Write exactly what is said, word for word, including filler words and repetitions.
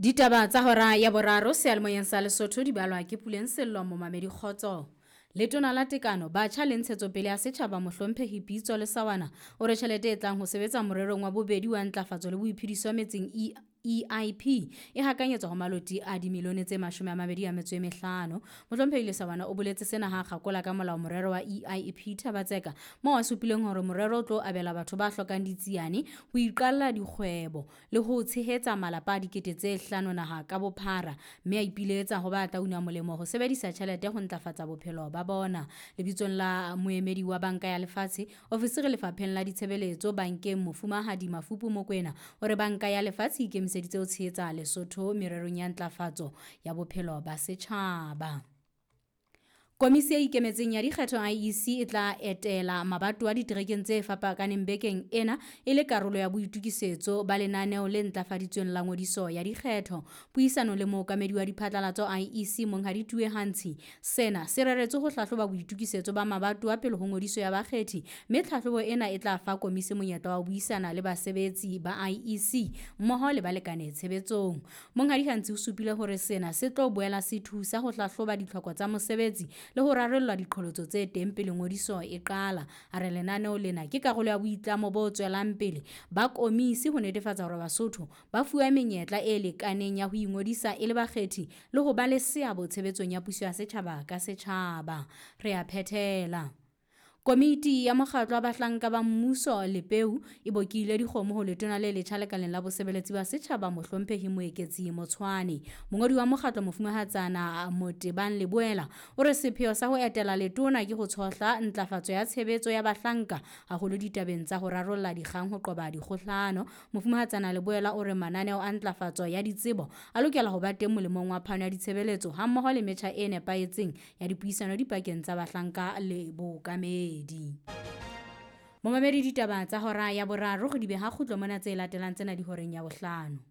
Ditaba tsa hora ya boraro seyalemoyeng sa Lesotho di balwa ke Puleng Sello momamedi kgotso. Letona la Tekano, Batjha le Ntshetsopele ya Setjhaba Mohlomphehi Pitso Lesawana o re tjhelete e tlang ho sebetsa morerong wa bobedi wa ntlafatso le boiphediso metseng E I P e hakanyetswa ho maloti a dimilione tse mashome a mabedi a metso e mehlano. Mohlomphehi Lesawana o boletse sena ha kgakola ka molao morero wa E I P Thaba-Tseka moo a supileng hore morero o tlo abela batho ba hlokang ditsiane ho iqalla dikgwebo le ho tshehetsa malapa a dikete tse hlano naha ka bophara, mme a ipiletsa ho ba tla una molemo ho sebedisa tjhelete ho ntlafatsa bophelo ba bona. Lebitsong la moemedi wa Banka ya Lefatshe, ofisiri lefapheng la ditshebeletso bankeng Mofumahadi Mafupu Mokwena o re Banka ya Lefatshe e ikemiseditse ho tshehetsa Lesotho mererong ya ntlafatso ya bophelo ba setjhaba. Komisi e ikemetseng ya dikgetho I E C e tla etela mabatowa diterekeng tse fapakaneng bekeng ena e le karolo ya boitokisetso ba lenaneo le ntlafaditsweng la ngodiso ya dikgetho. Puisano le mookamedi wa diphatlalatso I E C Monghadi Tue Hantshi, sena se reretswe ho hlahloba boitokisetso ba mabatowa pele ho ngodiso ya bakgethi, mme tlhahlobo ena e tla fa komisi monyetla wa ho buisana le basebetsi ba I E C mmoho le balekane tshebetsong. Monghadi Hantshi o supile hore sena se tlo boela se thusa ho hlahloba ditlhoko tsa mosebetsi le ho rarolla diqholotso tse teng pele ngodiso e qala. A re lenaneo lena ke karolo ya boitlamo bo tswelang pele ba komisi ho netefatsa hore Basotho ba fuwa menyetla e lekaneng ya ho ingodisa e le bakgethi le ho ba le seabo tshebetsong ya puso ya setjhaba ka setjhaba. Re a phethela. Komiti ya mokgatlo wa bahlanka ba mmuso Lepeu e bokile dikgomo ho letona le letjha lekaleng la bosebeletsi ba setjhaba Mohlomphehi Moeketsi Motshwane. Mongodi wa mokgatlo Mofumahatsana Motebang Leboela o re sepheo sa ho etela letona ke ho tshohla ntlafatso ya tshebetso ya bahlanka haholo ditabeng tsa ho rarolla dikgang ho qoba dikgohlano. Mofumahatsana Leboela o re mananeo a ntlafatso ya ditsebo a lokela ho ba teng molemong wa phano ya ditshebeletso hammoho le metjha e nepahetseng ya dipuisano dipakeng tsa bahlanka le bookamedi. Momamedi ditaba tsa hora ya boraro re di beha kgutlo mona tse latelang tsena di horeng ya bohlano.